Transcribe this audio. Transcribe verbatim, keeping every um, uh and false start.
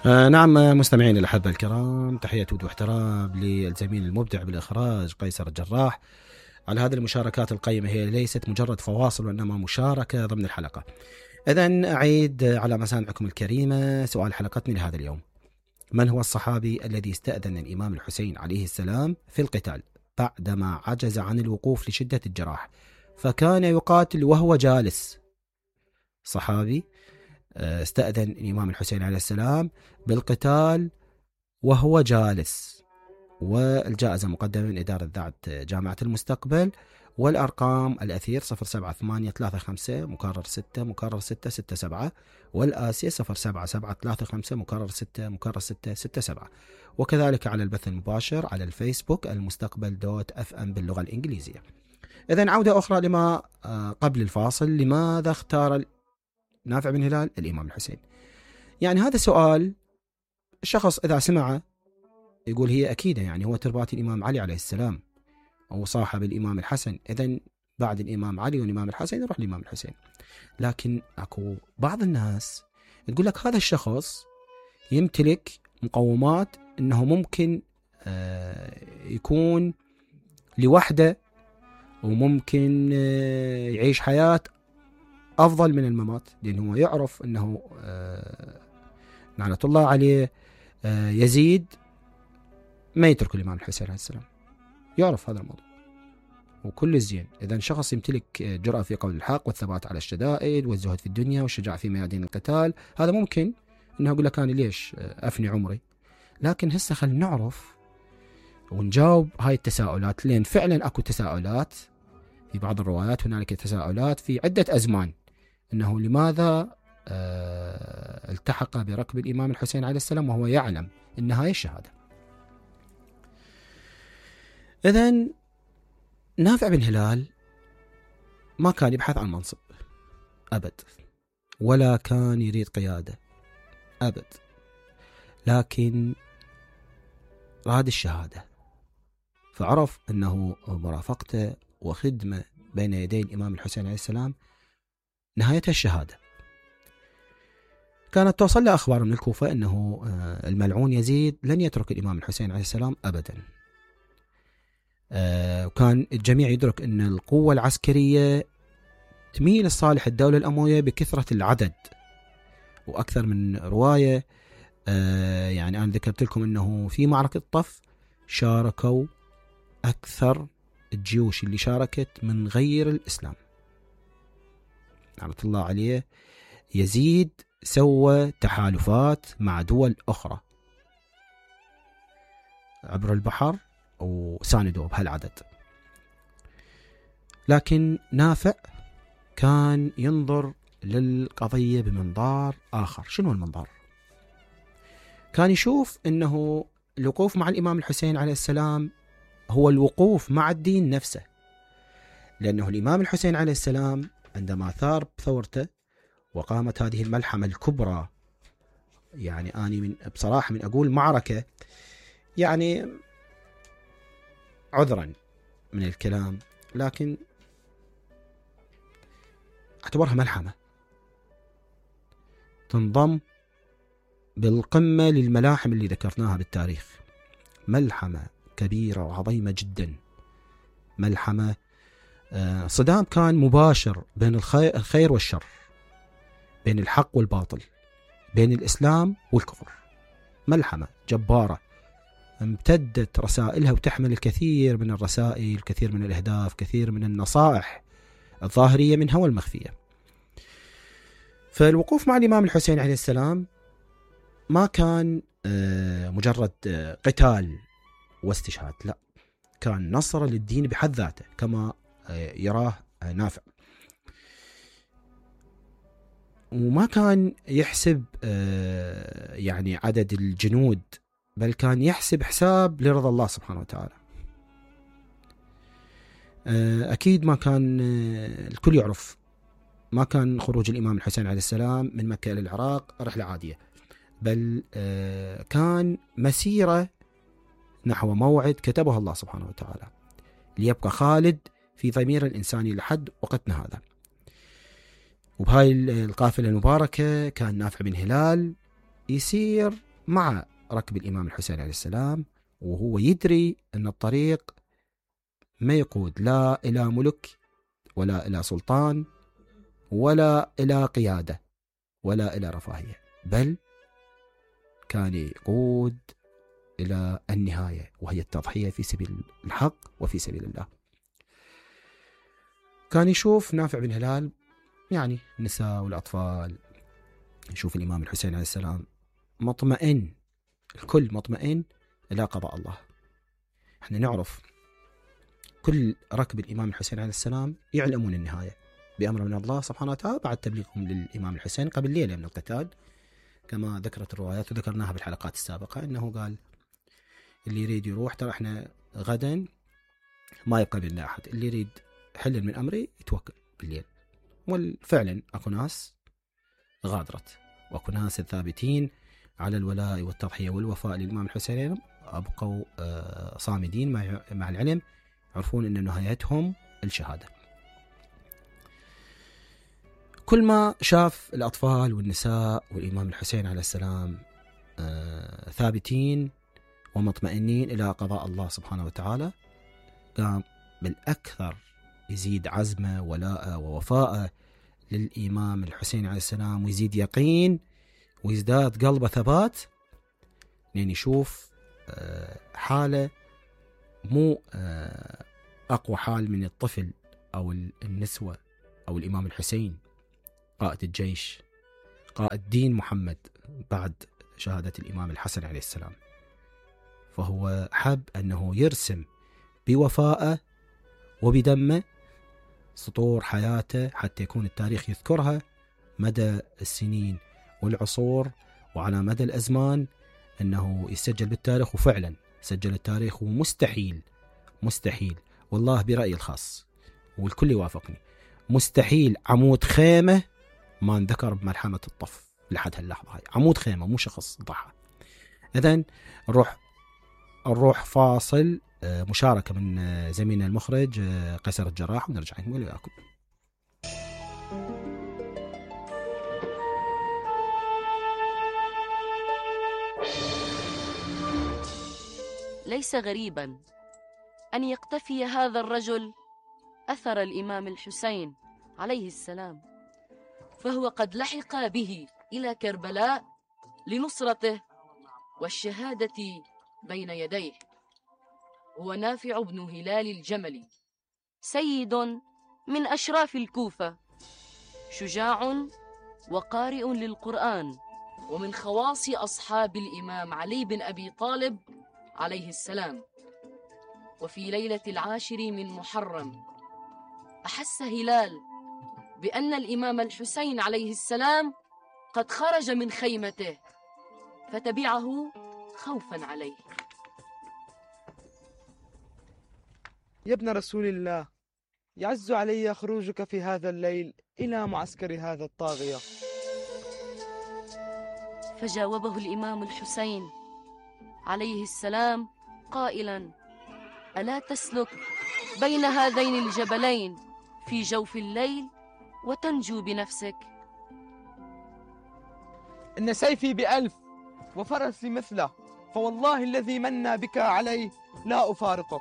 آه نعم مستمعين الأحبة الكرام، تحية ود واحترام للزميل المبدع بالإخراج قيصر الجراح على هذه المشاركات القيمة. هي ليست مجرد فواصل وإنما مشاركة ضمن الحلقة. إذن أعيد على مسامعكم الكريمة سؤال حلقتنا لهذا اليوم: من هو الصحابي الذي استأذن الإمام الحسين عليه السلام في القتال بعدما عجز عن الوقوف لشدة الجراح فكان يقاتل وهو جالس؟ صحابي استأذن الإمام الحسين عليه السلام بالقتال وهو جالس، والجائزة مقدمة من إدارة ذات جامعة المستقبل، والأرقام الأثير صفر سبعة ثمانية ثلاثة خمسة مكرر ستة مكرر ستة ستة سبعة، والآسية صفر سبعة سبعة ثلاثة خمسة مكرر ستة مكرر ستة ستة سبعة، وكذلك على البث المباشر على الفيسبوك المستقبل دوت اف ام باللغة الإنجليزية. إذن عودة أخرى لما قبل الفاصل: لماذا اختار نافع بن هلال الإمام الحسين؟ يعني هذا سؤال الشخص إذا سمعه يقول هي أكيدة، يعني هو تربات الإمام علي عليه السلام أو صاحب الإمام الحسن، إذن بعد الإمام علي والإمام الحسن يروح الإمام الحسين. لكن أكو بعض الناس تقول لك هذا الشخص يمتلك مقومات أنه ممكن يكون لوحده وممكن يعيش حياة أفضل من الممات، لأنه يعرف أنه لعنة الله عليه يزيد ما يترك الإمام الحسين عليه السلام، يعرف هذا الموضوع وكل الزين. إذا شخص يمتلك جرأة في قول الحق والثبات على الشدائد والزهد في الدنيا والشجاعة في ميادين القتال، هذا ممكن أنه أقول لك أنا ليش أفني عمري. لكن هسه خل نعرف ونجاوب هاي التساؤلات، لأن فعلا أكو تساؤلات في بعض الروايات، هنالك تساؤلات في عدة أزمان أنه لماذا أه التحق بركب الإمام الحسين عليه السلام وهو يعلم أن هاي الشهادة. إذن نافع بن هلال ما كان يبحث عن منصب أبد، ولا كان يريد قيادة أبد، لكن راد الشهادة، فعرف أنه مرافقته وخدمة بين يدي الإمام الحسين عليه السلام نهايتها الشهادة. كانت توصل له أخبار من الكوفة أنه الملعون يزيد لن يترك الإمام الحسين عليه السلام أبدا، وكان الجميع يدرك أن القوة العسكرية تميل لصالح الدولة الأموية بكثرة العدد، وأكثر من رواية يعني أنا ذكرت لكم أنه في معركة طف شاركوا أكثر الجيوش اللي شاركت من غير الإسلام رحمة الله عليه. يزيد سوى تحالفات مع دول أخرى عبر البحر وساندوا بهالعدد، لكن نافع كان ينظر للقضية بمنظار آخر. شنو المنظار؟ كان يشوف أنه الوقوف مع الإمام الحسين عليه السلام هو الوقوف مع الدين نفسه، لأنه الإمام الحسين عليه السلام عندما ثار بثورته وقامت هذه الملحمة الكبرى، يعني أنا من بصراحة من أقول معركة، يعني عذرا من الكلام لكن اعتبرها ملحمة تنضم بالقمة للملاحم اللي ذكرناها بالتاريخ، ملحمة كبيرة وعظيمة جدا. ملحمة صدام كان مباشر بين الخير والشر، بين الحق والباطل، بين الإسلام والكفر، ملحمة جبارة امتدت رسائلها وتحمل الكثير من الرسائل، الكثير من الأهداف، كثير من النصائح الظاهرية منها والمخفية. فالوقوف مع الإمام الحسين عليه السلام ما كان مجرد قتال واستشهاد، لا، كان نصر للدين بحد ذاته كما يراه نافع. وما كان يحسب يعني عدد الجنود، بل كان يحسب حساب لرضا الله سبحانه وتعالى. أكيد ما كان الكل يعرف، ما كان خروج الإمام الحسين عليه السلام من مكة إلى العراق رحلة عادية، بل كان مسيرة نحو موعد كتبه الله سبحانه وتعالى ليبقى خالد في ضمير الإنساني لحد وقتنا هذا. وبهاي القافلة المباركة كان نافع بن هلال يسير مع ركب الإمام الحسين عليه السلام، وهو يدري أن الطريق ما يقود لا إلى ملك ولا إلى سلطان ولا إلى قيادة ولا إلى رفاهية، بل كان يقود إلى النهاية، وهي التضحية في سبيل الحق وفي سبيل الله. كان يشوف نافع بن هلال يعني النساء والأطفال، يشوف الإمام الحسين عليه السلام مطمئن، الكل مطمئن إلى قضاء الله. احنا نعرف كل ركب الإمام الحسين عليه السلام يعلمون النهاية بأمر من الله سبحانه وتعالى بعد تبليغهم للإمام الحسين قبل ليلة من القتال، كما ذكرت الروايات وذكرناها بالحلقات السابقة، أنه قال اللي يريد يروح، ترى احنا غدا ما يبقى بيننا أحد، اللي يريد حل من أمري يتوكل بالليل. وفعلا أكو ناس غادرت، وأكو ناس الثابتين على الولاء والتضحية والوفاء للإمام الحسين أبقوا صامدين مع العلم، يعرفون أن نهايتهم الشهادة. كل ما شاف الأطفال والنساء والإمام الحسين عليه السلام ثابتين ومطمئنين إلى قضاء الله سبحانه وتعالى، قام بالأكثر يزيد عزمه ولاءه ووفاءه للإمام الحسين عليه السلام، ويزيد يقين ويزداد قلبه ثبات، لأن يشوف حالة مو أقوى حال من الطفل أو النسوة أو الإمام الحسين قائد الجيش، قائد دين محمد بعد شهادة الإمام الحسن عليه السلام. فهو حب أنه يرسم بوفائه وبدمه سطور حياته حتى يكون التاريخ يذكرها مدى السنين والعصور وعلى مدى الأزمان، أنه يسجل بالتاريخ. وفعلا سجل التاريخ، ومستحيل مستحيل والله برأيي الخاص والكل يوافقني، مستحيل عمود خيمة ما انذكر بملحمة الطف لحد هاللحظة هاي. عمود خيمة مو شخص ضحى. إذن نروح نروح فاصل، مشاركة من زميلنا المخرج قيصر الجراح، ونرجع نكمل وياكم. ليس غريبا أن يقتفي هذا الرجل أثر الإمام الحسين عليه السلام، فهو قد لحق به إلى كربلاء لنصرته والشهادة بين يديه. هو نافع بن هلال الجملي، سيد من أشراف الكوفة، شجاع وقارئ للقرآن، ومن خواص أصحاب الإمام علي بن أبي طالب عليه السلام. وفي ليلة العاشر من محرم أحس هلال بأن الإمام الحسين عليه السلام قد خرج من خيمته، فتبعه خوفا عليه. يا ابن رسول الله، يعز علي خروجك في هذا الليل إلى معسكر هذا الطاغية. فجاوبه الإمام الحسين عليه السلام قائلا: ألا تسلك بين هذين الجبلين في جوف الليل وتنجو بنفسك؟ إن سيفي بألف وفرسي مثله، فوالله الذي منى بك عليه لا أفارقه.